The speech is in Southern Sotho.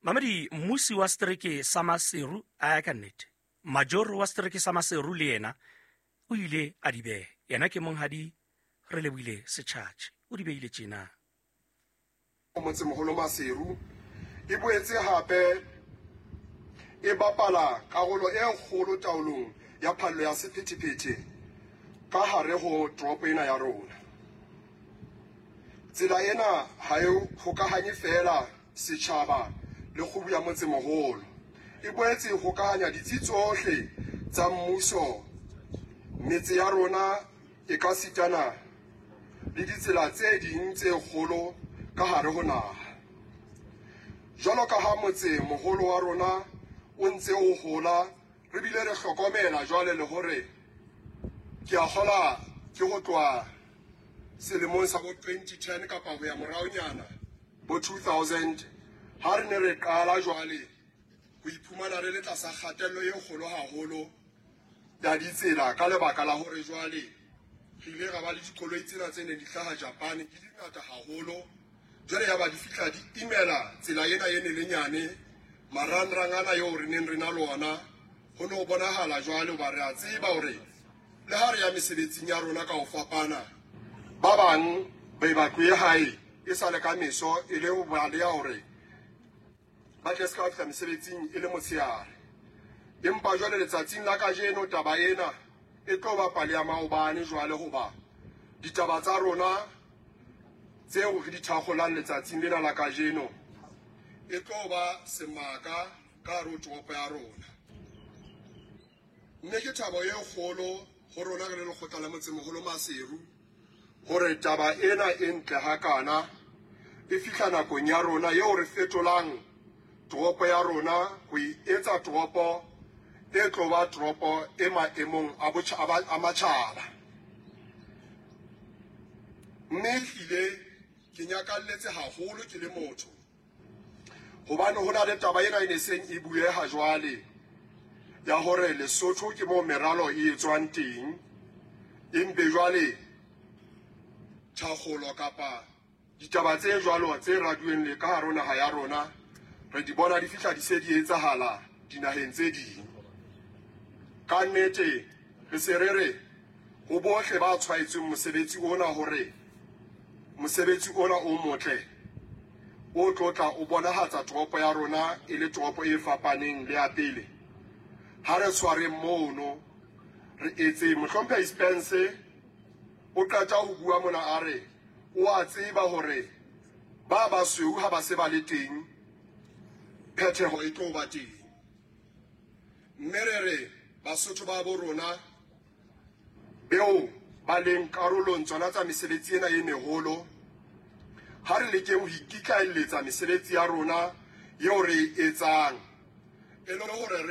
Mamedi, mmusi wa setereke sa Maseru a ya ka nnete, majoro wa setereke sa Maseru le yena o ile a di beha. Yena ke monghadi Relebohile Setjhatjhe, o di behile tjena. Motsemoholo Maseru e boetse hape e bapala karolo e kgolo taolong ya phallo ya sephethephethe ka hare ho toropo ena ya rona. Tsela ena ha e hokahanye feela setjhaba le kgubu ya motsemoholo, e boetse e hokahanya ditsi tsohle tsa mmuso, metse ya rona e ka sitana le ditsela tse ding tse kgolo ka hare ho naha. Jwalo ka ha motse moholo wa rona o ntse o hola, re bile re hlokomela jwale le hore ke a kgola ke ho tloha selemong sa bo 2010 kapa ho ya moraonyana bo 2000, ha re ne re qala jwale ho iphumana re le tlasa kgatello e kgolo haholo ya ditsela ka lebaka la hore jwale re ile ra ba le dikoloi tsena tse neng di hlaha Japan di di ngata haholo. Jwale ya ba di fihla di imela tsela ena e ne le nyane, marangrang ana eo re neng re na le ona ho ne ho bonahala jwale hoba re a tseba hore le ha re ya mesebetsing ya rona ka ho fapana, ba bang be ba tlohe hae e sa le ka meso e le ho baleha hore ba tle se ka fihla mesebetsing e le motshehare. Empa jwale letsatsing la kajeno taba ena e tlo ba pale ya maobane jwale, hoba ditaba tsa rona tseo re di thakgolang letsatsing lena la kajeno e tlo ba semaka ka hare ho toropo ya rona. Mme ke thabo e kgolo ho rona re le lekgotla la motsemoholo Maseru hore taba ena e ntle hakana e fihla nakong ya rona eo re fetolang toropo ya rona ho e etsa toropo e tlo ba toropo e maemong a matjhaba. Mme ehlile ke nyakalletse haholo ke le motho, hobane ho na le taba ena e ne seng e bueha jwale ya hore Lesotho ke moo meralo e etswang teng, empe jwale thakgolo kapa ditaba tse jwalo tse raduweng le ka hare ho naha ya rona re di bona di fihla di se di etsahala dinaheng tse ding. Ka nnete re se re re ho bohle ba tshwaetsweng mosebetsi ona hore mosebetsi ona o motle o tlotla o bonahatsa toropo ya rona e le toropo e fapaneng le ya pele. Ha re tshwareng mono re etse. Mohlomphehi Spence o qeta ho bua mona a re o a tseba hore ba basweu ha ba se ba le teng phetheho e tlo ba teng. Mme re re Basotho ba bo rona beo ba leng karolong tsona tsa mesebetsi ena e meholo, ha re lekeng ho ikitlaelletsa mesebetsi ya rona eo re e etsang e le hore re